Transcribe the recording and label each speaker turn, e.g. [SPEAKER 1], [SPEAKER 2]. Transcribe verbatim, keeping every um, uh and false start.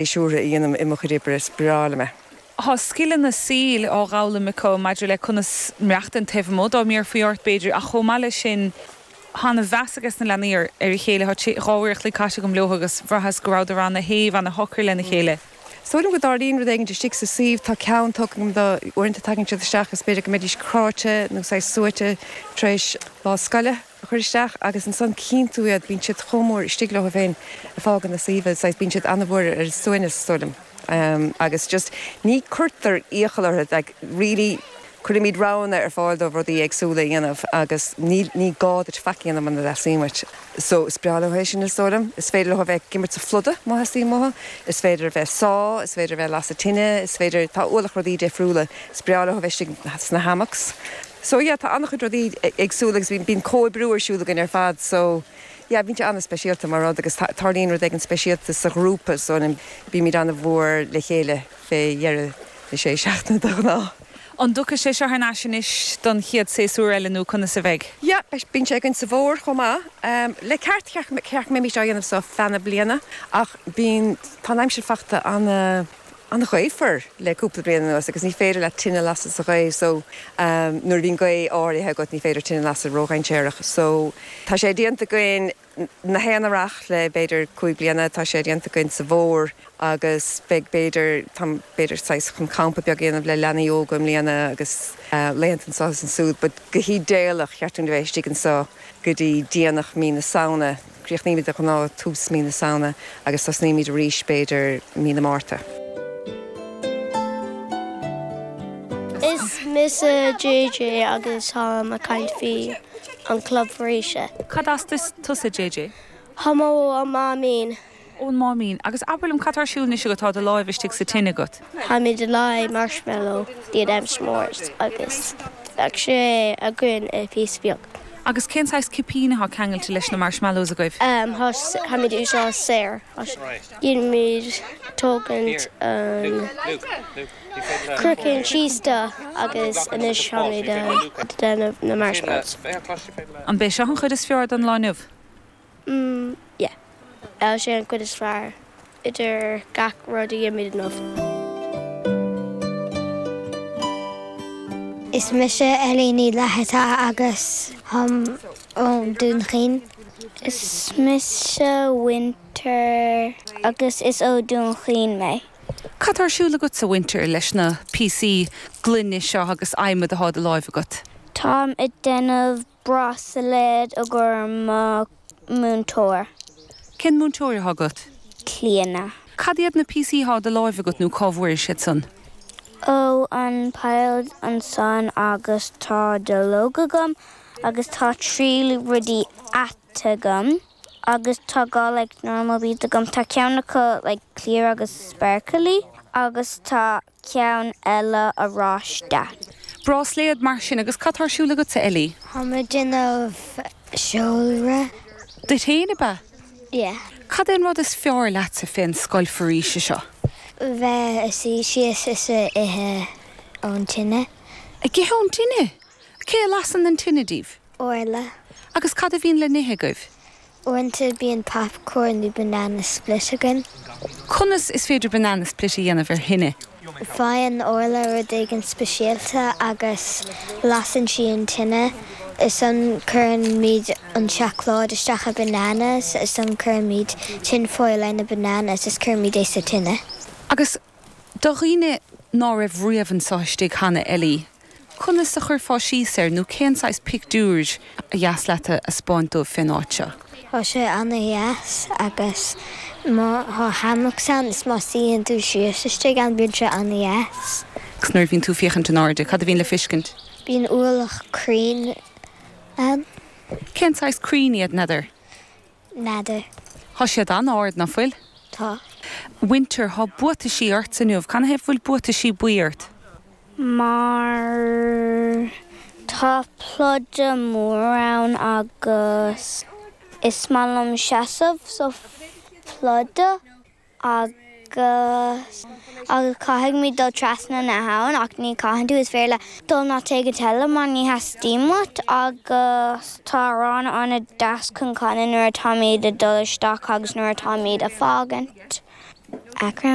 [SPEAKER 1] pléisiúrtha a dhéanaim i mo chuid oibre is breá liom é.
[SPEAKER 2] Tá scileanna saoil á bhfoghlaim acu maidir le conas maireachtáil taobh amuigh dá mbéarfaí ort b'fhéidir ach chomh maith leis sin tá an-mheas ag na leanaí ar a chéile dhá uair an chloig caite agam leo agus bhraitheas go rabhadar an-shéimh an-shocair lena chéile.
[SPEAKER 1] Is dóigh liom go dtarlaíonn rud éigin istigh sa suíomh tá ceann tugam do uaireanta tagann siad isteach is b'fhéidir go mbeidís cráite nó saghas suaite tar éis lá scoile a chur isteach agus ansan cíonn tú iad bíonn siad chomh mór istigh leo féin ag fágáil na suíomh saghas bíonn siad an-mhór ar suaimhneas is dóigh liom. Um, agus just ní cuirtear iachall orthu like, really cuirimid roghanna ar fáil dóibh rudaí éagsúla a dhéanamh agus ní ní gá duit faic a dhéanamh muna dteastaíonn uait. So is breá leo é sin is dóigh liom. Is féidir leo bheith ag imirt sa phluda má theastaíonn uathu, is féidir a bheith sá, is féidir a bheith lasadh tine, is féidir tá ualach rudaí difriúla, is breá leo bheith sna hammocks. So yeah, tá an-chuid rudaí éagsúla agus bíonn comhoibriú ar siúl againn ar fad, so yeah, bíonn sé an-speisialta mar rud agus tarlaíonn rud éigin speisialta sa ghrúpa so bímid an-mhór le chéile fé dheireadh na sé seachtaine de ghnáth.
[SPEAKER 2] An dtiocfaidh sé seo anois anois don chéad séasúr eile nó conas a bheidh?
[SPEAKER 1] Ja, bíonn sé againn sa bhfómhar chomh maith. Um, le ceart ceart mé seo dhéanamh so feadh na bliana ach bíonn tá aimsir fachta an an-ghaofar le cúpla bliain anuas agus ní féidir le tine lasadh sa ghaoth so um, nuair bhíonn gaoth áirithe agat ní féidir tine lasadh ródhainséarach. So tá sé déanta againn na haon earrach le b'fhéidir cúig bliana tá sé déanta againn sa bhfómhar agus beidh b'fhéidir tá b'fhéidir saghas chun campa beag a dhéanamh le leanaí óga i mbliana agus uh, laethanta anseo is ansiúd, but go hidéalach cheart dúinn bheith istigh anseo go dtí déanach mí na Samhna, Críochnaímid de ghnáth tús mí na Samhna agus tosnaímid arís b'fhéidir mí na Márta.
[SPEAKER 3] Is mise JJ agus táim ag caint faoi an club foraoise.
[SPEAKER 2] Cad as tusa JJ?
[SPEAKER 3] Táim ón Máimín.
[SPEAKER 2] Ón Máimín agus abair liom cad atá ar siúl anois agat tá do láimh istigh sa tine agat.
[SPEAKER 3] Táimid ag leá marshmallow iad am s'mores agus bheadh sé againn i píosa beag.
[SPEAKER 2] Agus cén saghas cipíní atá ceangailte leis na marshmallows agaibh?
[SPEAKER 3] Um, Táimid úsáid céir. Déanaimid tógaint an craiceann síos de agus anois táimid ag déanamh na marshmallows.
[SPEAKER 2] An b'é seo an chuid is fearr den lá inniu?
[SPEAKER 3] Mm, yeah. Tá sé an chuid is fearr idir gach rud a dhéanaimid inniu.
[SPEAKER 4] Is mise Ellie Ní Fhlatharta agus táim ón Dún Chaoin.
[SPEAKER 5] Is mise Winter agus is ó Dún Chaoin mé.
[SPEAKER 2] Cad atá ar siúl agatsa Winter leis na píosaí gloine seo agus adhmad atá i do láimh agat?
[SPEAKER 5] Táim ag déanamh bráisléad i gcomhair mo múinteoir.
[SPEAKER 2] Cén múinteoir atá agat?
[SPEAKER 5] Clíona.
[SPEAKER 2] Cad iad na píosaí atá i do láimh agat nó cá bhfuair siad san?
[SPEAKER 5] Ó an pile ansan agus tá duilleog agam agus tá trí rudaí ata agam agus tá dhá like normal beads agam tá ceann acu like clear agus sparkly agus tá ceann eile oráiste.
[SPEAKER 2] Bráisléad mar sin agus cad atá ar siúl agatsa Ellie?
[SPEAKER 4] Táim ag déanamh seolra.
[SPEAKER 2] Duit féin ab ea?
[SPEAKER 4] Yeah.
[SPEAKER 2] Cad é an rud is fearr leatsa fén scoil foraoise seo?
[SPEAKER 4] Bheith ag suí síos is ag ithe ón tine.
[SPEAKER 2] Ag ithe ón tine? Cé a lasann an tine daoibh?
[SPEAKER 4] Orla.
[SPEAKER 2] Agus cad a bhíonn le n-ithe agaibh?
[SPEAKER 4] Uaireanta bíonn popcorn nó banana split againn.
[SPEAKER 2] Conas is féidir banana split a dhéanamh ar thine?
[SPEAKER 4] Faigheann Orla rud éigin speisialta agus lasann sí an tine. Ansan cuirimid an seacláid isteach i bananas, ansan cuirimid tin foil ar na bananas is cuirimid é sa tine.
[SPEAKER 2] Agus do dhaoine ná raibh riamh anseo istigh cheana, Ellie, conas a chuirfeá síos air nó cén saghas pictiúr ba dheas leat a 'spáint dóibh fén áit seo?
[SPEAKER 4] Tá sé ana-dheas agus má thá hammocks ann is má suíonn tú síos istigh ann bíonn sé ana-dheas.
[SPEAKER 2] Agus nuair a bhíonn tú ag féachaint in airde, cad a bhíonn le feiscint?
[SPEAKER 4] Bíonn ualach crainn ann.
[SPEAKER 2] Cén saghas crainn iad, n'fheadar?
[SPEAKER 4] N'fheadar.
[SPEAKER 2] Thá siad an-ard, ná fuil?
[SPEAKER 4] Tá.
[SPEAKER 2] Winter, thá buataisí ortsa inniu. Canathaobh bhfuil buataisí buí ort?
[SPEAKER 5] Mar tá pluda mór ann agus is maith liom seasamh sa phluda agus agus caithfidh muid dul trasna na habhann ach ní chaitheann tú is féidir leat dul an áit éigin eile má ní theastaíonn uait agus tá amhrán an-deas chun canadh nuair atáimid ag dul isteach agus nuair atáimid ag fágaint.
[SPEAKER 4] Achrann.